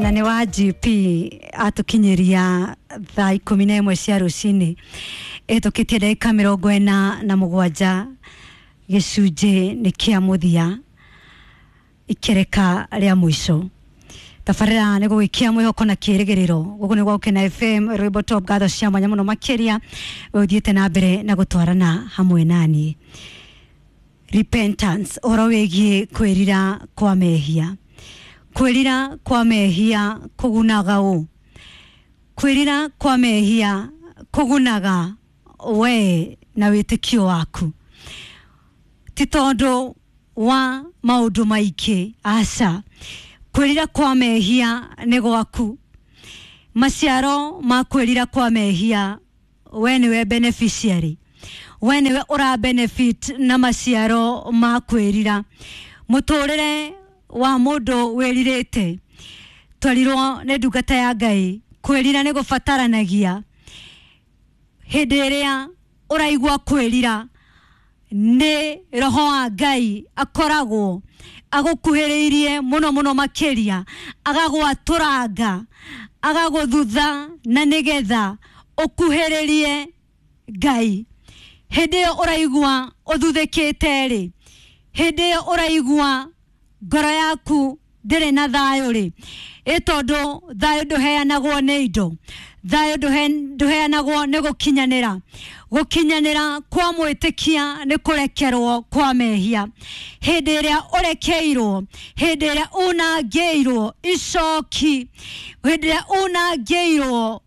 Na nĩ wa GP atũkinyĩria thaa 11 cia rũcinĩ ĩtũkĩtie ndagĩka 47, gĩcunjĩ nĩ kĩa mũthia, ikereka rĩa mũico. Tabarĩra nĩ gũgĩkia mwĩhoko na kĩrĩgĩrĩro. Gũkũ nĩ gwa Gũkena FM, rwĩmbo top. Ngatho cia mwanya mũno makĩria we ũthiĩte na mbere na gũtwarana hamwe naniĩ. Repentance, ũhoro wĩgiĩ kwĩrira kwa mehia. Kwĩrira kwa mehia kũgunaga ũ? Kwĩrira kwa mehia kũgunaga we na wĩtĩkio waku, ti tondũ wa maũndũ maingĩ, aca. Kwĩrira kwa mehia nĩ gwaku. Maciaro ma kwĩrira kwa mehia, we nĩwe beneficiary, we nĩwe ũra benefit na maciaro ma kwĩrira. Mũtũrĩre wa mũndũ wĩrirĩte, twerirwo nĩ ndungata ya Ngai, kwĩrira nĩ gũbataranagia. Hĩndĩ ĩrĩa ũraigua kwĩrira, nĩ roho wa Ngai akoragwo agũkuhĩrĩirie mũno mũno makĩria, agagwatũranga, agagũthutha, na nĩgetha ũkuhĩrĩrie Ngai. Hĩndĩ ĩyo ũraigua ũthuthĩkĩte rĩ, hĩndĩ ĩyo ũraigua ngoro yaku ndĩrĩ na thayũ rĩ, ĩ tondũ thayũ ndũheanagwo nĩ indo, thayũ ndũheanagwo nĩ gũkinyanĩra. Gũkinyanĩra kwa mwĩtĩkia nĩ kũrekerwo kwa mehia. Hĩndĩ ĩrĩa ũrekeirwo, hĩndĩ ĩrĩa unangĩirwo icoki, hĩndĩ ĩrĩa unangĩirwo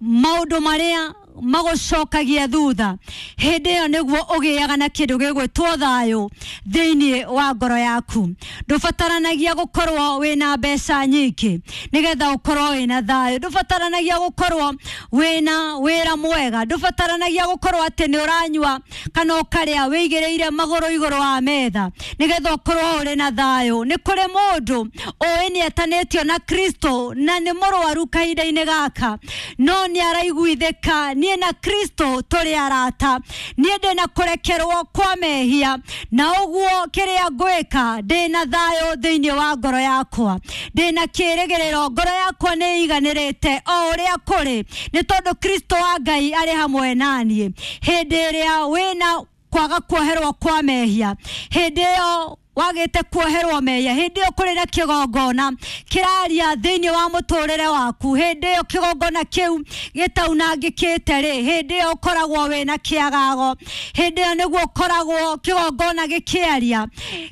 maũndũ marĩa magũcokagia thutha, hĩndĩ ĩyo nĩguo ũgĩaga na kĩndũ gĩgwĩtwo thayũ thĩinĩ wa ngoro yaku. Ndũbataranagia gũkorwo wĩna mbeca nyingĩ nĩgetha ũkorwo wĩna thayũ. Ndũbataranagia gũkorwo wĩna wĩra mwega. Ndũbataranagia gũkorwo atĩ nĩ ũranyua kana ũkarĩa wĩigĩrĩire magũrũ igũrũ wa metha nĩgetha ũkorwo ũrĩ na thayũ. Nĩ kũrĩ mũndũ ũĩ nĩ etanĩtio na Kristo na nĩ mũrwaru kahinda-inĩ gaka, no nĩ araiguithĩka, niĩ na Kristo tũrĩ arata, niĩ ndĩna kũrekerwo kwa mehia, na ũguo kĩrĩa ngwĩka, ndĩna thayũ thĩinĩ wa ngoro yakwa, ndĩna kĩrĩgĩrĩro, ngoro yakwa nĩ iganĩrĩte o ũrĩa kũrĩ, nĩ tondũ Kristo wa Ngai arĩ hamwe naniĩ. Hĩndĩ ĩrĩa wĩna kwaga kuoherwo kwa mehia, hĩndĩ ĩyo wagĩte kuoherwo mehia, hĩndĩ ĩyo kũrĩ na kĩgongona kĩraria thĩinĩ wa mũtũrĩre waku, hĩndĩ ĩyo kĩgongona kĩu gĩtaunangĩkĩte rĩ, hĩndĩ ĩyo ũkoragwo wĩna kĩagago. Hĩndĩ ĩyo nĩguo ũkoragwo kĩgongona gĩkĩaria.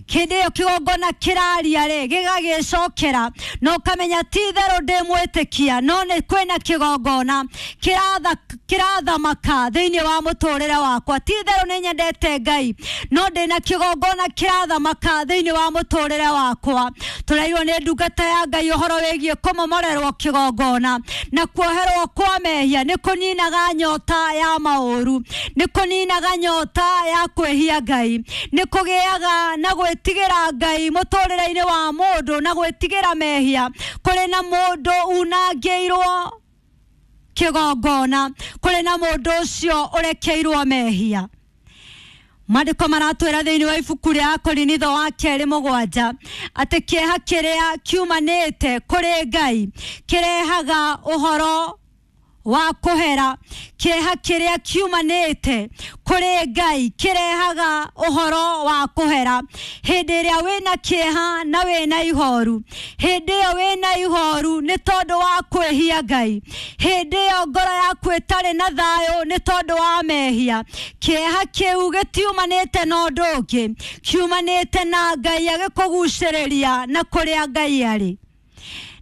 Hĩndĩ ĩyo kĩgongona kĩraria rĩ, gĩgagĩcokera na ũkamenya ti itherũ ndĩ mwĩtĩkia, no nĩ kwĩna kĩgongona kĩrathamaka thĩinĩ wa mũtũrĩre wakwa. Ti itherũ nĩ nyendete Ngai, no ndĩna kĩgongona kĩrathamaka thĩinĩ wa mũtũrĩre wakwa. Tũrairwo nĩ ndungata ya Ngai ũhoro wĩgiĩ kũmomorerwo kĩgongona na kuoherwo kwa mehia nĩ kũninaga nyota ya maũru, nĩ kũninaga nyota ya kwĩhia Ngai, nĩ kũgĩaga na gwĩtigĩra Ngai mũtũrĩre-inĩ wa mũndũ na gwĩtigĩra mehia. Kũrĩ na mũndũ unangĩirwo kĩgongona, kũrĩ na mũndũ ũcio ũrekeirwo mehia. Maandĩko maratwĩra thĩinĩ wa ibuku rĩa Akorinitho wa kerĩ 7 atĩ kĩeha kĩrĩa kiumanĩte kũrĩ Ngai kĩrehaga ũhoro wa kũhera. Kĩeha kĩrĩa kiumanĩte kũrĩ Ngai kĩrehaga ũhoro wa kũhera. Hĩndĩ ĩrĩa wĩna kĩeha na wĩna ihoru, hĩndĩ ĩyo wĩna ihoru nĩ tondũ wa kwĩhia Ngai, hĩndĩ ĩyo ngoro yaku ĩtarĩ na thayũ nĩ tondũ wa mehia, kĩeha kĩu gĩtiumanĩte na ũndũ ũngĩ, kiumanĩte na Ngai agĩkũgucĩrĩria na kũrĩa Ngai arĩ.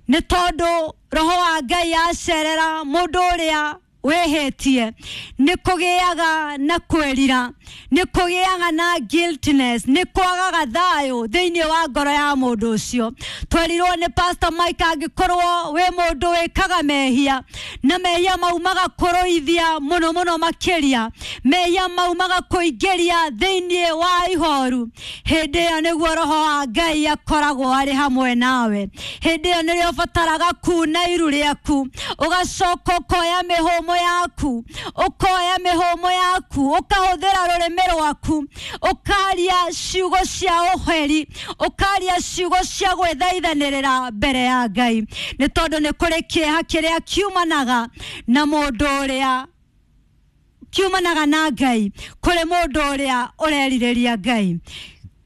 Nĩ tondũ roho wa Ngai acerera mũndũ ũrĩa wĩhĩtie, nĩ kũgĩaga na kwĩrira, nĩ kũgĩaga na guiltiness, nĩ kwagaga thayũ thĩinĩ wa ngoro ya mũndũ ũcio. Twerirwo nĩ Pastor Mike, angĩkorwo wĩ mũndũ wĩkaga mehia na mehia mau magakũrũithia mũno mũno makĩria, mehia mau magakũingĩria thĩinĩ wa ihoru, hĩndĩ ĩyo nĩguo roho wa Ngai akoragwo arĩ hamwe nawe. Hĩndĩ ĩyo nĩrĩo ũbataraga kuna iru rĩaku, ũgacoka ũkoya mĩhũmũ yaku, ũkoya mĩhũmũ yaku, ũkahũthĩra rũrĩmĩ rwaku, ũkaria ciugo cia ũheri, ũkaria ciugo cia gwĩthaithanĩrĩra mbere ya Ngai, nĩ tondũ nĩ kũrĩ kĩeha kĩrĩa kiumanaga na mũndũ ũrĩa kiumanaga na Ngai, kũrĩ mũndũ ũrĩa ũrerirĩria Ngai.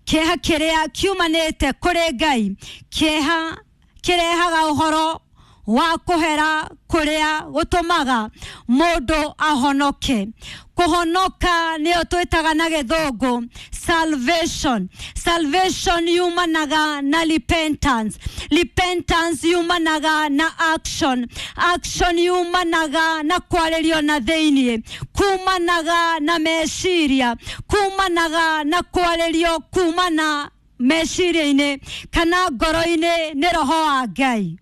Kĩeha kĩrĩa kiumanĩte kũrĩ Ngai, kĩeha kĩrehaga ũhoro wa kũhera kũrĩa gũtũmaga mũndũ ahonoke. Kũhonoka nĩyo twĩtaga na gĩthũngũ salvation. Salvation yumanaga na repentance. Repentance yumanaga na action. Action yumanaga na kwarĩrio na thĩiniĩ, kumanaga na meciria, kumanaga na kwarĩrio kumana meciria-inĩ kana ngoro-inĩ nĩ roho wa Ngai.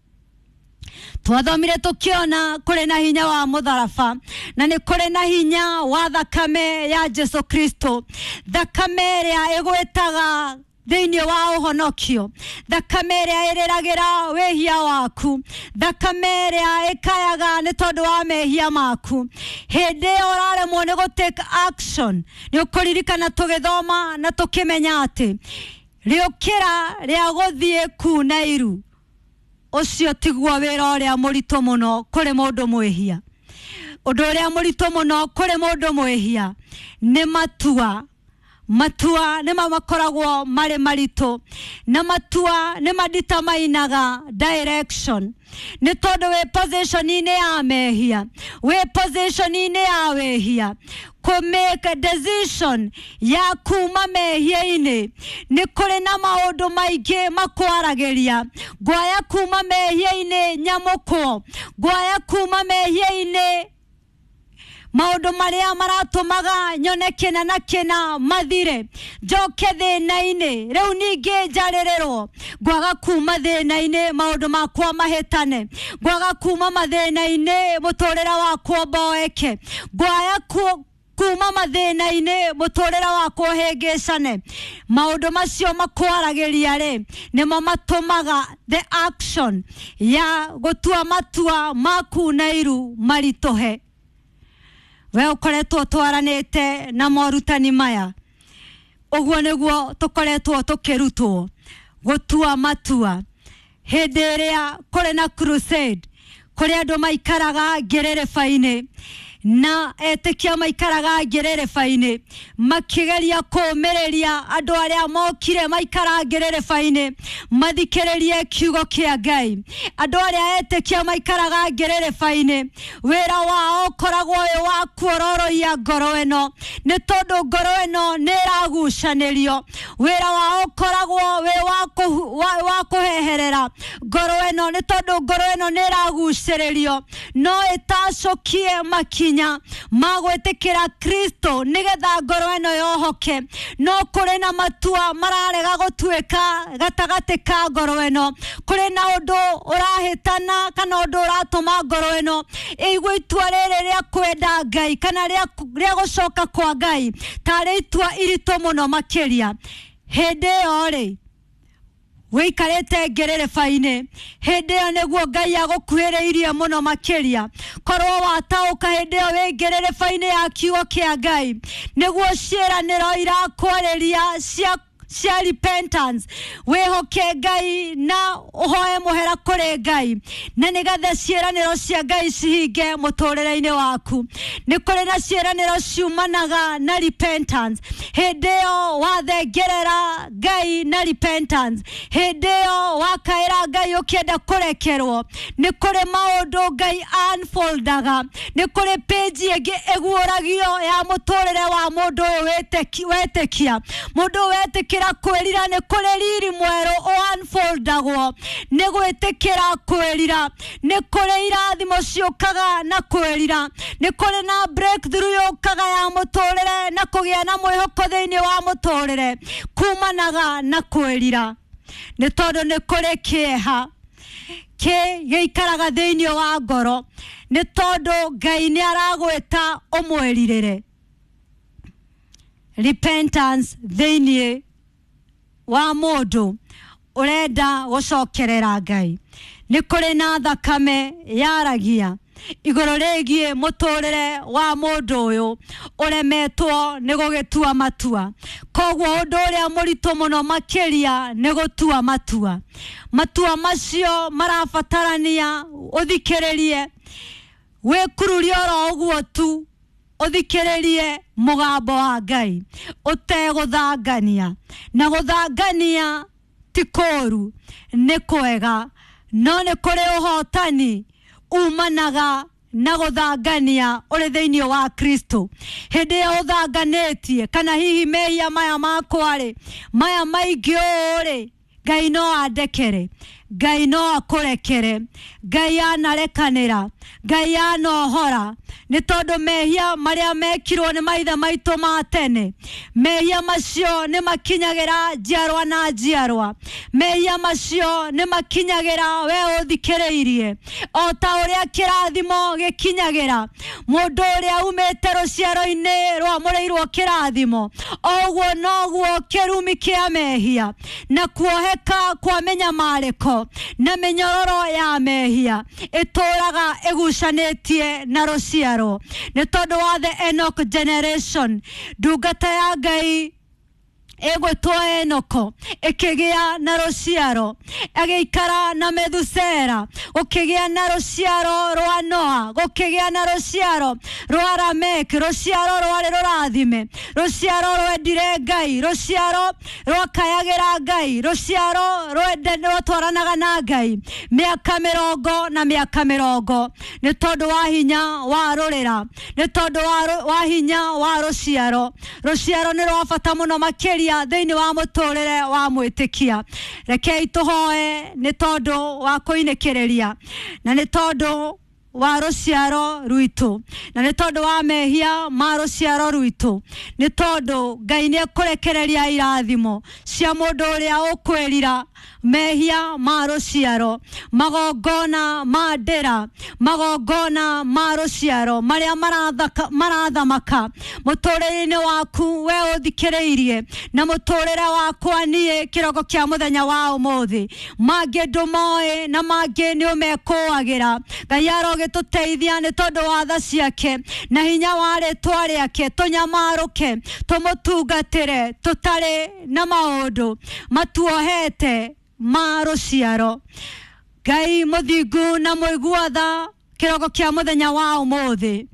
Twathomire tukiona kũrĩ na hinya wa mũtharaba, na nĩ kũrĩ na hinya wa thakame ya Jesu Kristo, thakame ĩrĩa ĩgwĩtaga thĩinĩ wa ũhonokio, thakame ĩrĩa ĩrĩragĩra wĩhia waku, thakame ĩrĩa ĩkayaga nĩ tondũ wa mehia maku. Hĩndĩ ĩyo ũraremwo nĩ gũ take action, nĩ ũkũririkana tũgĩthoma na tũkĩmenya atĩ rĩũkĩra rĩa gũthiĩ kuna iru, ũcio tiguo wĩra ũrĩa mũritũ mũno kũrĩ mũndũ mwĩhia. Ũndũ ũrĩa mũritũ mũno kũrĩ mũndũ mwĩhia nĩ matua. Matua nĩ makoragwo marĩ maritũ, na matua nĩ maditamainaga direction, nĩ tondũ wĩ position-inĩ ya mehia, wĩ position-inĩ ya wĩhia. Kũ make a decision ya kuma mehia-inĩ nĩ kũrĩ na maũndũ maingĩ makwaragĩria. Ngwaya kuma mehia-inĩ nyamũkwo, ngwaya kuma mehia-inĩ maũndũ marĩa maratũmaga nyone kĩna na kĩna mathire, njoke thĩna-inĩ rĩu ningĩ njarĩrĩrwo. Ngwaga kuma thĩna-inĩ maũndũ makwa mahĩtane, ngwaga kuma mathĩna-inĩ mũtũrĩre wakwa mboeke, ngwaya kuma mathĩna-inĩ mũtũrĩre wakwa ũhĩngĩcane. Maũndũ macio makwaragĩria rĩ, nĩmo matũmaga the action ya gũtua matua ma kuna iru maritũhe. We ũkoretwo twaranĩte na morutani maya, ũguo nĩguo tũkoretwo tũkĩrutwo gũtua matua. Hĩndĩ ĩrĩa kũrĩ na crusade, kũrĩ andũ maikaraga ngĩrĩrĩba-inĩ na etĩkia maikaraga ngĩrĩrĩba-inĩ makĩgeria kũũmĩrĩria andũ arĩa mokire maikara ngĩrĩrĩba-inĩ mathikĩrĩrie kiugo kĩa Ngai. Andũ arĩa etĩkia maikaraga ngĩrĩrĩba-inĩ, wĩra wao ũkoragwo wĩ wa kuororoia ngoro ĩno, nĩ tondũ ngoro ĩno nĩ ĩragucanĩrio. Wĩra wao ũkoragwo wĩ wa kũheherera ngoro ĩno, nĩ tondũ ngoro ĩno nĩ ĩragucĩrĩrio, no ĩtacũkie makinya ma gwĩtĩkĩra Kristo nĩgetha ngoro ĩno yohoke. No kũrĩ na matua mararega gũtuĩka gatagatĩ ka ngoro ĩno, kũrĩ na ũndũ ũrahĩtana kana ũndũ ũratũma ngoro ĩno ĩigue itua rĩrĩ rĩa kwenda Ngai kana rĩa gũcoka kwa Ngai tarĩ itua iritũ mũno makĩria. Hĩndĩ ĩyo rĩ, wĩikarĩte ngĩrĩrĩba-inĩ, hĩndĩ ĩyo nĩguo Ngai agũkuhĩrĩirie mũno makĩria. Korwo wataũka hĩndĩ ĩyo wĩ ngĩrĩrĩba-inĩ ya kiugo kĩa Ngai, nĩguo ciĩranĩro irakwarĩria cia repentance, wĩhoke Ngai na ũhoe mũhera kũrĩ Ngai, na nĩgetha ciĩranĩro cia Ngai cihinge mũtũrĩre-inĩ waku. Nĩ kũrĩ na ciĩranĩro ciumanaga na repentance. Hĩndĩ ĩyo wathengerera Ngai na repentance, hĩndĩ ĩyo wakaĩra Ngai ũkĩenda kũrekerwo, nĩ kũrĩ maũndũ Ngai unfoldaga, nĩ kũrĩ page ĩngĩ ĩguũragio ya mũtũrĩre wa mũndũ ũyũ wetĩkia. Mũndũ ũyũ wetĩkĩra kwĩrira, nĩ kũrĩ riri mwerũ unfoldagwo nĩ gwĩtĩkĩra kwĩrira, nĩ kũrĩ irathimo ciũkaga na kwĩrira, nĩ kũrĩ na breakthrough yũkaga ya mũtũrĩre na kũgĩa na mwĩhoko thĩinĩ wa mũtũrĩre kumanaga na kwĩrira, nĩ tondũ nĩ kũrĩ kĩeha kĩ gĩikaraga thĩinĩ wa ngoro, nĩ tondũ Ngai nĩ aragwĩta ũmwĩrirĩre. Repentance thĩinĩ wa mũndũ ũrenda gũcokerera Ngai. Nĩ kũrĩ na thakame yaragia, Igũrũ rĩgiĩ mũtũrĩre wa mũndũ ũyũ ũremetwo nĩ gũgĩtua matua. Koguo ũndũ ũrĩa mũritũ mũno makĩria nĩ gũtua matua. Matua macio marabatarania ũthikĩrĩrie, wĩkururie oro ũguo tu, ũthikĩrĩrie mũgambo wa Ngai ũtegũthangania. Na gũthangania ti kũũru, nĩ kwega, no nĩ kũrĩ ũhotani umanaga na gũthangania ũrĩ thĩinĩ wa Kristo. Hĩndĩ ĩrĩa ũthanganĩtie, kana hihi mehia maya makwa rĩ, maya maingĩ ũũ rĩ, Ngai no andekere, Ngai no akũrekere, Ngai anarekanĩra, Ngai anohora, nĩ tondũ mehia marĩa mekirwo nĩ maithe maitũ ma tene, mehia macio nĩ makinyagĩra njiarwa na njiarwa, mehia macio nĩ makinyagĩra we ũthikĩrĩirie, o ta ũrĩa kĩrathimo gĩkinyagĩra mũndũ ũrĩa umĩte rũciaro-inĩ rwamũrĩirwo kĩrathimo, o ũguo noguo kĩrumi kĩa mehia na kuoheka kwa mĩnyamarĩko na mĩnyororo ya mehia ĩtũraga ĩgucanĩtie na rũciaro. Nĩ tondũ wa the Enoch generation, ndungata ya Ngai ĩgwĩtwo Enoko ĩkĩgĩa na rũciaro, agĩikara na Methusera, gũkĩgĩa na rũciaro rwa Noa, gũkĩgĩa na rũciaro rwa Lamek, rũciaro rwarĩ rũrathime, rũciaro rwendire Ngai, rũciaro rwakayagĩra Ngai, rũciaro rwatwaranaga na Ngai mĩaka mĩrongo na mĩaka mĩrongo, nĩ tondũ wa hinya wa rũrĩra, nĩ tondũ wa hinya wa rũciaro. Rũciaro nĩ rwa bata mũno makĩria thĩinĩ wa mũtũrĩre wa mwĩtĩkia. Rekei tũhoe nĩ tondũ wa kũinĩkĩrĩria, na nĩ tondũ wa rũciaro rwitũ, na nĩ tondũ wa mehia ma rũciaro rwitũ, nĩ tondũ Ngai nĩ ekũrekereria irathimo cia mũndũ ũrĩa ũkwĩrira mehia ma rũciaro, magongona ma ndĩra, magongona ma rũciaro marĩa marathamaka mũtũrĩre-inĩ waku we ũthikĩrĩirie, na mũtũrĩre wakwa niĩ kĩroko kĩa mũthenya wa ũmũthĩ. Mangĩ ndũmoĩ na mangĩ nĩ ũmekũagĩra. Ngai arogĩtũteithia nĩ tondũ wa tha ciake na hinya wa rĩtwa rĩake, tũnyamarũke tũmũtungatĩre tũtarĩ na maũndũ matuohete ma rũciaro. Ngai mũthingu na mũigua tha, kĩroko kĩa mũthenya wa ũmũthĩ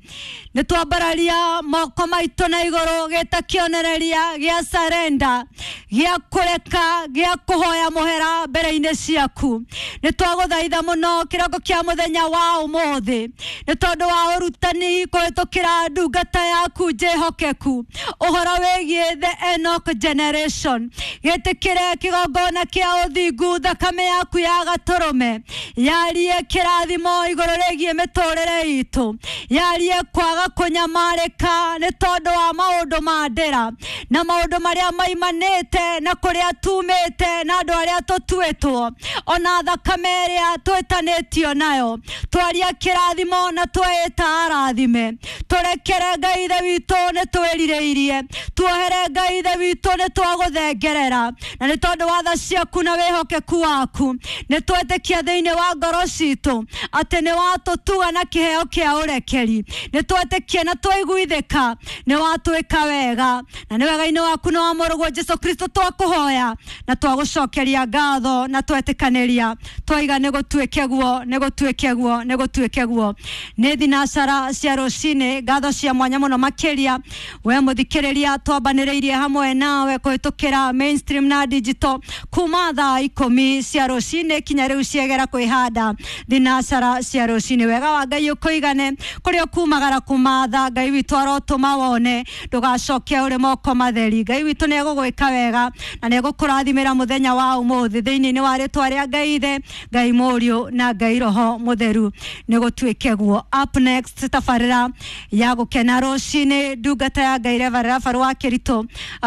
nĩ twambararia moko maitũ na igũrũ gĩta kĩonereria gĩa sarenda, gĩa kũreka, gĩa kũhoya mũhera mbere-inĩ ciaku. Nĩ twagũthaitha mũno kĩroko kĩa mũthenya wa ũmũthĩ nĩ tondũ wa ũrutani kũhĩtũkĩra ndungata yaku njĩhokeku ũhoro wĩgiĩ the Enoch generation. Gĩtĩkĩre kĩgongona kĩa ũthingu, thakame yaku ya gatũrũme yarie kĩrathimo igũrũ rĩgiĩ mĩtũrĩre itũ, yarie kwaga kũnyamarĩka nĩ tondũ wa maũndũ ma ndĩra na maũndũ marĩa maimanĩte na kũrĩa tumĩte na andũ arĩa tũtuĩtwo, ona thakame ĩrĩa twĩtanĩtio nayo. Twaria kĩrathimo na tweĩta arathime. Tũrekere Ngai Ithe witũ nĩ twĩrirĩirie, tuohere Ngai Ithe witũ nĩ twagũthengerera, na nĩ tondũ wa tha ciaku na wĩhokeku waku nĩ twetĩkia thĩinĩ wa ngoro citũ atĩ nĩ watũtuga na kĩheo kĩa ũrekeri. Nĩ twetĩkia na twaiguithĩka nĩ watwĩka wega, na nĩ wega-inĩ waku na wa mũrũguo Jesu Kristo twakũhoya na twagũcokeria ngatho na twetĩkanĩria twaiga nĩ gũtuĩke guo, nĩ gũtuĩke guo, nĩ gũtuĩke guo. Nĩ thinacara cia rũcinĩ, ngatho cia mwanya mũno makĩria we mũthikĩrĩria twambanĩrĩirie hamwe nawe kũhĩtũkĩra mainstream na digital kuma thaa 10 cia rũcinĩ kinya rĩu ciegera kwĩhanda thinacara cia rũcinĩ. Wega wa Ngai ũkũigane kũrĩa ũkumagara kumatha, Ngai witũ arotũma wone, ndũgacoke ũrĩ moko matheri. Ngai witũ nĩ egũgwĩka wega na nĩ egũkũrathimĩra mũthenya wa ũmũthĩ thĩinĩ wa rĩtwa rĩa Ngai Ithe, Ngai Mũriũ na Ngai Roho Mũtheru. Nĩ gũtuĩke guo. Up next, tabarĩra ya gũkena rũcinĩ, ndungata ya Ngai Reverend Rafael wa Kĩritũ,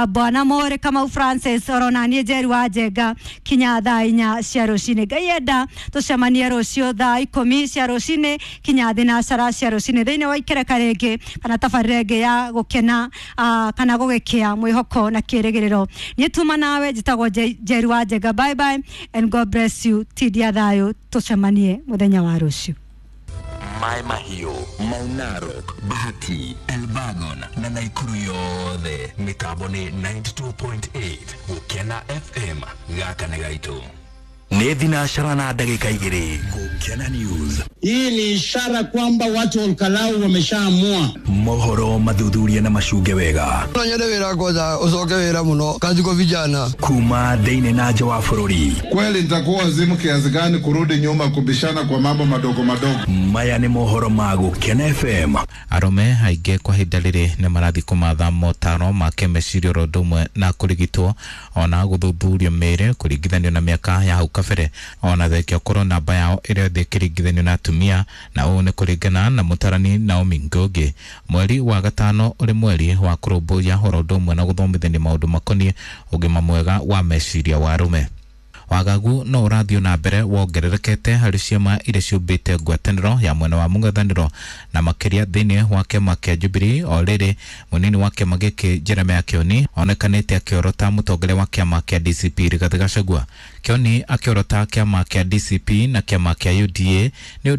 Bwana Mũrĩ Kamau Francis, orona niĩ Njeri wa Njenga, kinya thaa 4 cia rũcinĩ. Ngai enda tũcemanie rũciũ thaa 10 cia rũcinĩ kinya thinacara cia rũcinĩ thĩinĩ wa ikereka rĩngĩ kana tabarĩra ĩngĩ ya gũkena kana gũgĩkĩa mwĩhoko na kĩrĩgĩrĩro. Niĩ tuma nawe njĩtagwo Njeri wa Njenga. Bye bye and God bless you. Tindia thayũ, tũcemanie mũthenya wa rũciũ. Mai Mahiũ, Mau Narok, Bahati, Elbagon na Naikuru yothe. Mĩtambo nĩ 92.8 Gũkena FM. Gaka nĩ gaitũ. Nĩ thinacara na ndagĩka 2. Gũkena News. Hii ni ishara kwamba watu wa Olkalau wameshaamua. Mohoro mathuthuria na macunge wega. No nyende wĩra kwanza ucoke wĩra mũno kazi kwa vijana. Kuma thĩinĩ na nja wa bũrũri. Kweli nitakuwa wazimu kiasi gani kurudi nyuma kubishana kwa mambo madogo madogo? Maya nĩ mohoro ma Gũkena FM. Arũme aingĩ kwa ihinda rĩrĩ nĩ marathiĩ kũmatha motaro ma kĩmeciria oro ũndũ ũmwe na kũrigitwo ona gũthuthurio mĩĩrĩ kũringithanio na mĩaka ya hau kabere, ona thengia ũkorwo namba yao ĩrĩ thĩ ĩkĩringithanio na atumia, na ũũ nĩ kũringana na mũtarani Naomi Ngugi. Mweri wa gatano ũrĩ mweri wa kũrũmbũiya oro ũndũ ũmwe na gũthomithania maũndũ makoniĩ ũgima mwega wa meciria wa arũme. Wagagu no ũrathiĩ na mbere wongererekete harĩ ciama iria ciũmbĩte ngwatanĩro ya mwena wa mũng'ethanĩro na makĩria thĩinĩ wa kĩama kĩa Jubilee. O rĩrĩ, mũnini wa kĩama gĩkĩ Jeremiah Kioni onekanĩte akĩorota mũtongoria wa kĩama kĩa DCP Rigathĩ Gachagua. Kioni akĩorota kĩama kĩa DCP na kĩama kĩa UDA nĩ